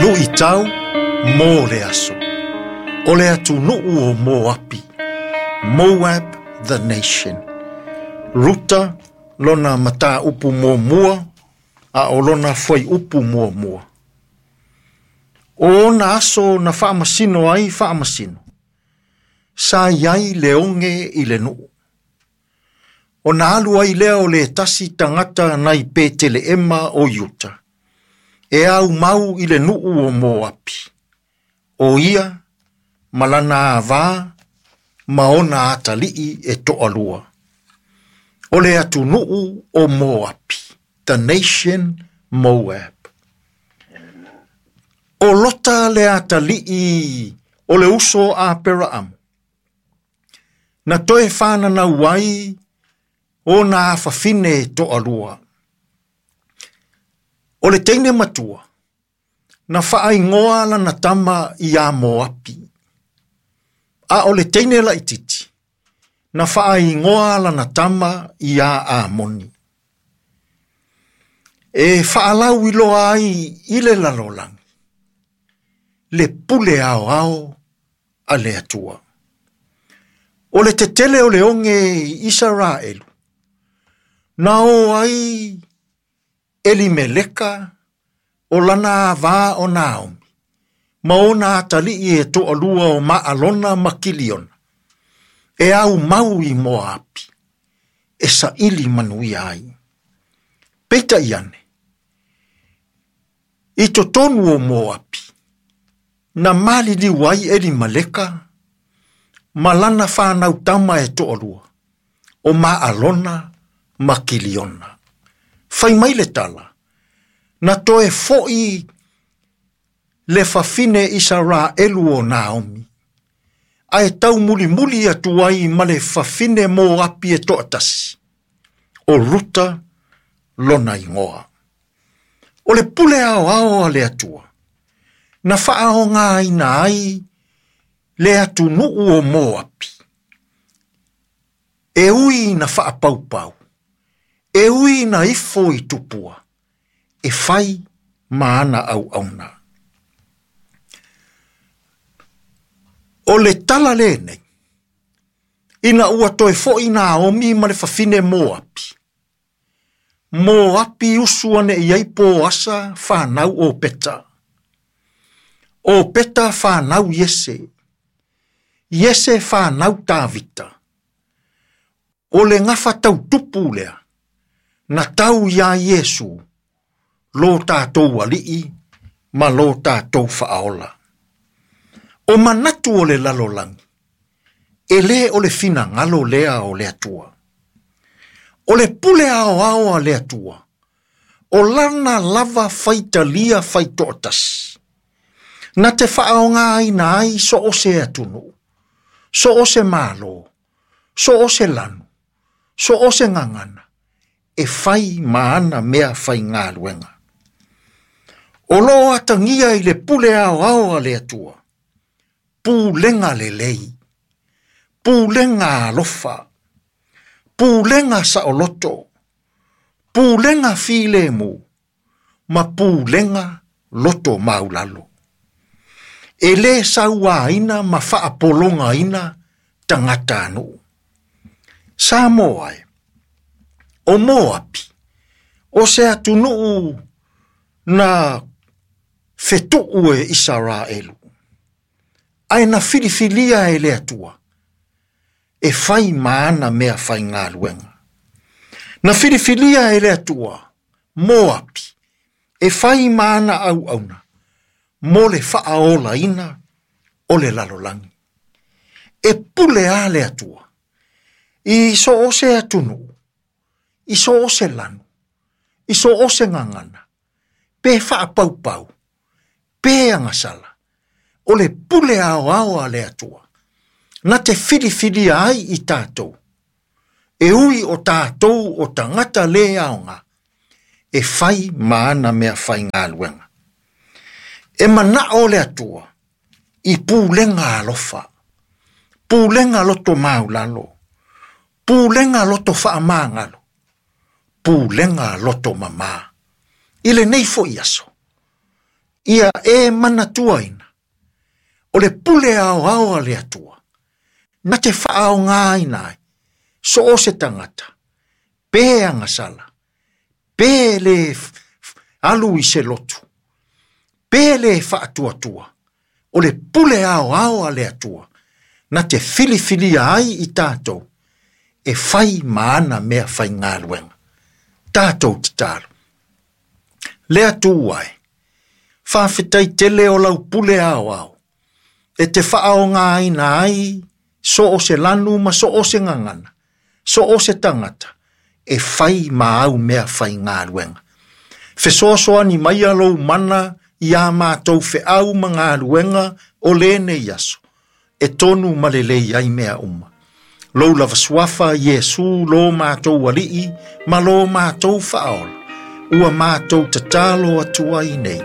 Luʻitau mo le aso. O le atunuu o Moapi. Moab the nation. Ruta lona mataupu muamua a o lona fuaiupu muamua. O ona aso na faamasino ai faamasino. Sa i ai le oge i le nuu. Ona alu ai lea o le tasi tagata nai Peteleema o Iuta. E aumau i le nuu o Moapi. O ia ma lana avā ma ona atalii e toalua. O le atunuu o Moapi, the nation Moab. O Lota le atalii o le uso a Aperaamu. Na toe whananau ai ona afafine e toalua. O le teine matua, na whaaingoa lana tama ia Moapi. A o le teine laititi, na whaaingoa lana tama ia Amoni. E whaalau iloa ai i le lalolagi, le pule ao ao a le Atua. O le tetele o le oge i Isaraelu, na o ai Elimeleka o lana avā o Naomi, ma ona atalii e toalua o Maalona ma Kiliona, e au mau i Moapi, e saili manuia ai. Peitai ane, i totonu o Moapi, na maliliu ai Elimeleka, ma lana whanau tama e toalua, o Maalona ma Kiliona. Fai mai le tala, na toe foi le fafine Isaraelu o Naomi, ae tau mulimuli atu ai ma le fafine Moapi e toatasi, o Ruta lona ingoa. O le pule ao ao a le Atua, na whaaongaina ai le atunuu o Moapi. E ui na whaapaupau, e ui na ifo i tupua, e whai ma ana au auna. O le tala lenei, ina ua toe foi Naomi ma le fafine Moapi. Moapi usu ane i ai Poasa whanau o Peta. O Peta whanau Iese. Iese whanau Tavita. O le ngafa tau tupu lea, na tau ia Iesu, lo tātou alii, ma lo tātou whaaola. O manatu o le lalolagi, e le o le finagalo lea o le Atua. O le pule ao ao a le Atua, o lana lava faitalia faitoatasi. Na te whaaongaina ai so o se atunuu, so o se malo, so o se lanu, so o se ngangana, e whai ma ana mea whai ngāluenga. O lo atangia i le pule ao ao a le Atua, pulenga lelei, pulenga alofa, pulenga saoloto, pulenga filemu, ma pulenga loto maulalo. E le sauaina ma faapolongaina tagata nuu. Samoa e, o Moapi, o se atunuu na fetuu e Isaraelu, ae na filifilia e le Atua, e whai ma ana mea whai ngāluenga. Na filifilia e le Atua, Moapi, e whai ma ana au auna, mo le whaaolaina o le lalolagi. E pule a le Atua, i so o se atunuu, i so o se lanu, i so o se ngangana, pe whaapaupau, pe angasala, o le pule ao ao a le Atua, na te filifilia ai i tātou, e ui o tātou o tangata le aonga, e whai ma ana mea whai ngāluenga. E manao le Atua, i pulenga alofa, pulenga loto maulalo, pulenga loto whaamangalo, pulenga loto mama. I le nei fo i aso. Ia e manatuaina, o le pule aoao a le Atua, na te faaaogaina ai, so o se tagata, pe agasala, pe le alu i se lotu, pe le faatuatua, o le pule aoao a le Atua, na te filifilia ai i tatou, e fai ma ana mea faigaluega. Tatou tatalo. Le Atua e, faafetai tele o lau pule aoao, e te faaaogaina ai so o se lanu ma so o se gagana, so o se tagata, e fai ma au mea faigaluega. Fesoasoani mai lou mana ia matou feau ma galuega o lenei aso, e tonu ma lelei ai mea uma. Lou lava suafa Iesu lo matou alii ma lo matou faaola, ua matou tatalo atu ai nei.